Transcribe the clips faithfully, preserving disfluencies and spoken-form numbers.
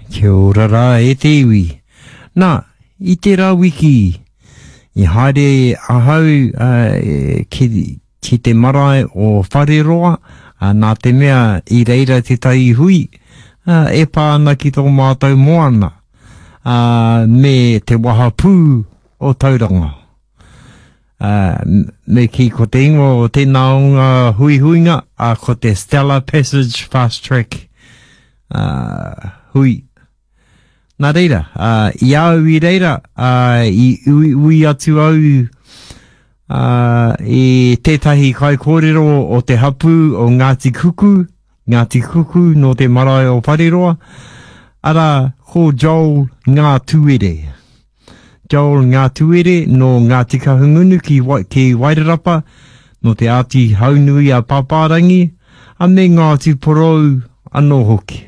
Kia ora rā e te iwi. Nā, i tērā wiki, i haere ahau uh, ki, ki te marae o Whareroa, uh, nā te mea i reira tētahi hui, uh, e pā ana ki tō mātou moana, uh, me te wahapū o Tauranga. Uh, me ki ko te ingoa o tēnā o ngā huihuinga, uh, ko te Stella Passage Fast Track uh, hui. Nā reira, uh, i au i reira, uh, i ui, ui atu au uh, i tētahi kaikōrero o te hapū o Ngāti Kuku, Ngāti Kuku nō te marae o Whareroa, arā, ko Joel Ngātuere. Joel Ngātuere nō Ngāti Kahungunu ki, ki Wairarapa, nō te Āti Haunui a Pāpārangi, a me Ngāti Porou anō hoki.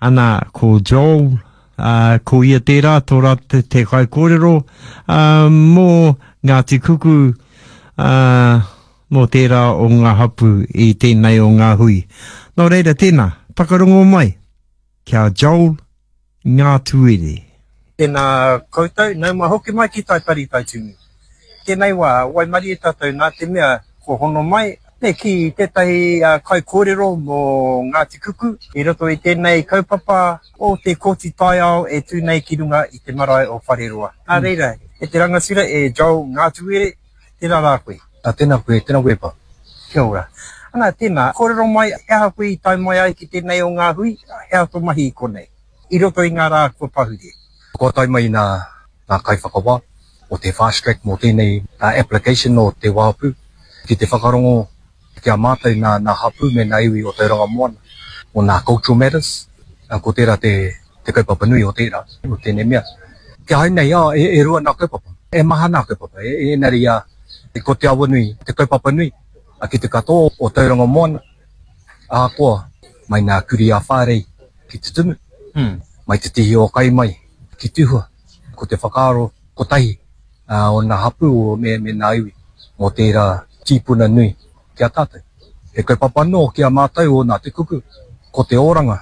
Ana, ko Joel, uh, ko ia tērā, tō rā te, te kaikōrero, uh, mō Ngāti Kuku, uh, mō tērā o ngā hapu i tēnei o ngā hui. Nō reira tēnā, whakarongo mai, kia Joel Ngātuere. Tēnā koutou, nau mai hoki mai ki Taipari Taitumu. Tēnei wā, waimarie tātou nā te mea ko hono mai, me ki tētahi uh, kaikōrero mō Ngāti Kuku i roto i tēnei kaupapa o te Kōti Taiao e tū nei ki runga i te marae o Whareroa. Nā reira, e te rangatira e Joel Ngātuere, tēnā rā koe. A, tēnā koe, tēnā koe pa. Kia ora. Ana, tēnā, kōrero mai, he aha koe i tae mai ai ki tēnei o ngā hui, he aha tō mahi i konei, i roto i ngā rā kua pahure. Kua tae mai nā, nā kaiwhakawā o te fast track mō tēnei uh, application o te wāpu ki te whakarongo ki a mātou nā, nā hapū me nā iwi o Tauranga Moana o nā cultural matters. Uh, ko tērā te, te kaupapa nui o tērā, o tēnei mea. Kia hau nei, ah, e, e rua nā kaupapa, e maha nā kaupapa, e, e enari a, ko te awa nui, te kaupapa nui, a ki te katoa o Tauranga Moana, ahakoa, mai nā kuri a whārei ki te tumu, mm. mai te tihi o kai mai ki tuhua, ko te whakaaro kotahi uh, o nā hapū o me, me nā iwi, mō tērā tīpuna nui ki a tātou. He kaupapa anō ki a mātou o nā te kuku, ko te oranga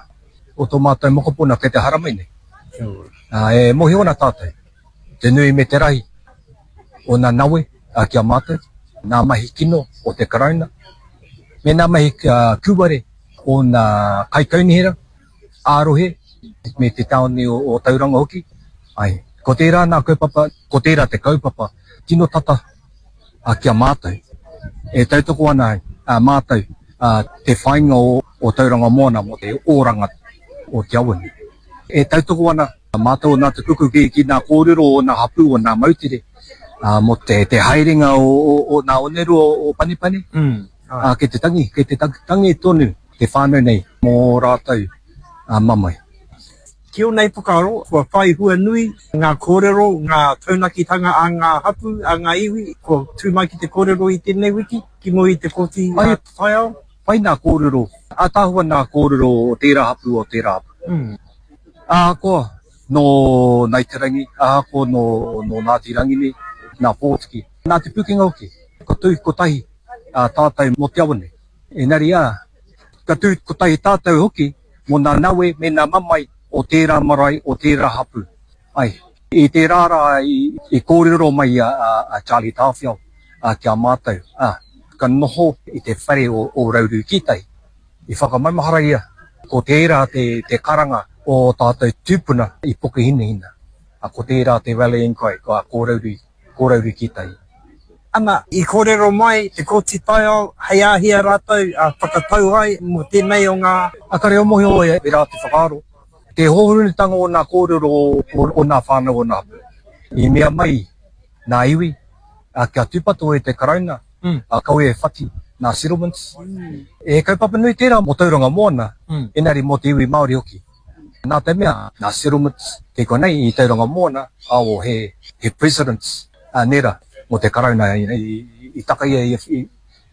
o tō mātou mokopuna kei te haramai nei. Uh, e mōhio ana tātou, te nui me te rahi o nā nawe uh, ki a mātou, nā mahi kino o te karauna, me nā mahi uh, kūware o nā kaikaunihera, ārohe, me te tāone o, o Tauranga hoki. Ai, ko tērā nā kaupapa, ko tērā te kaupapa, tino tata uh, ki a mātou. E tautoko ana a mātou uh, te whainga o, o Tauranga Moana mō te oranga o te awanui. E tautoko ana mātou o nā te kuku ki, ki nā kōrero o nā hapū o nā moutere uh, mō te, te haerenga o, o, o nā oneru o, o Panipani. Mm. Uh, kei te tangi, kei te tangi tonu te whānau nei mō rātou uh, mamae. Ki o nei whakaaro, kua whai hua nui ngā kōrero, ngā taunakitanga a ngā hapū, a ngā iwi, kua tū mai ki te kōrero i tēnei wiki, ki mua i te Kōti Taiao. Pai nā kōrero, ātaahua nā kōrero o tērā hapū o tērā hapū. Mm. Ahakoa nō Ngāi Te Rangi, ahakoa nō, nō Ngāti Rangini, nā Pōtiki, nā Te Pūkenga hoki, ka tū kotahi a tātou mō te awa nei. Engari ā, ka tū kotahi tātou hoki mō nā nawe me nā mamae o tērā marae, o tērā hapū. Ai, i tērā rā i, i kōrero mai a, a, a Charlie Tāwhiao a, ki a mātou. A, ka noho i te whare o, o Rauru Kītai. I whakamaumahara ia, ko tērā te, te karanga o tātou tūpuna i Pukehinahina. A, ko tērā te rallying cry, ko, ko Rauru, ko Rauru Kītai. Ana, i kōrero mai te Kōti Taiao, hei āhia rātou a whakatau ai mō tēnei o ngā... A kare o mōhio e, e rā te whakaaro. Te hōhonutanga o nā kōrero o, o, o nā whānau o nā hapū. I mea mai nā iwi, a, kia tūpato e te karauna, mm. a kawe e whati nā settlements. Mm. E kaupapa nui tērā mō Tauranga Moana, mm. engari mō te iwi Māori hoki. Nā te mea, nā settlements kei konei i Tauranga Moana, ao he, he presidents a nera mō te karauna i, i, i taka ia i, i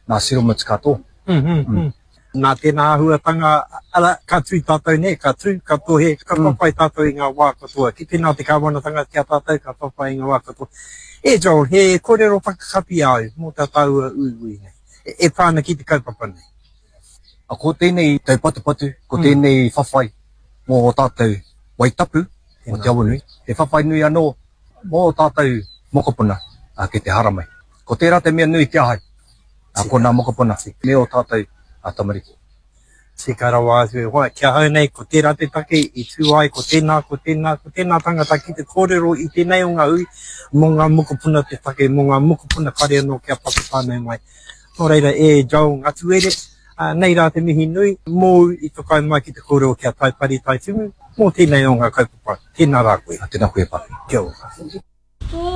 nā settlements katoa. Mm, mm, mm. Nā tēnā āhuatanga, ara, ka tū tātou nei, ka tū, ka tohe, ka whawhai tātou i ngā wā katoa. Ki tēnā te kāwanatanga ki a tātou, ka whawhai i ngā wā katoa. E Joel, he kōrero whakakapi au mō tā tāua uiui nei. E, e pā ana ki te kaupapa nei. Ko tēnei taupatupatu, ko tēnei whawhai mō ō tātou wai tapu o Te Awanui, he whawhai nui anō mō ō tātou mokopuna ki te haramai. Ko tērā te mea nui ki ahau, ko nā mokopuna me ō tātou tamariki. Tika rawa atu e hoa, ki ahau nei ko tērā te take i tū ai ko tēnā, ko tēnā, ko tēnā tangata ki te kōrero i tēnei o ngā hui mō ngā mokopuna te take, mō ngā mokopuna kare anō kia paku whānau mai. Nō reira e Joel Ngatuere, nei rā te mihi nui mōu i whakaae mai ki te kōrero ki a Taipari Taitumu mō tēnei o ngā kaupapa. Tēnā rā koe. Tēnā koe e Pā. Kia ora.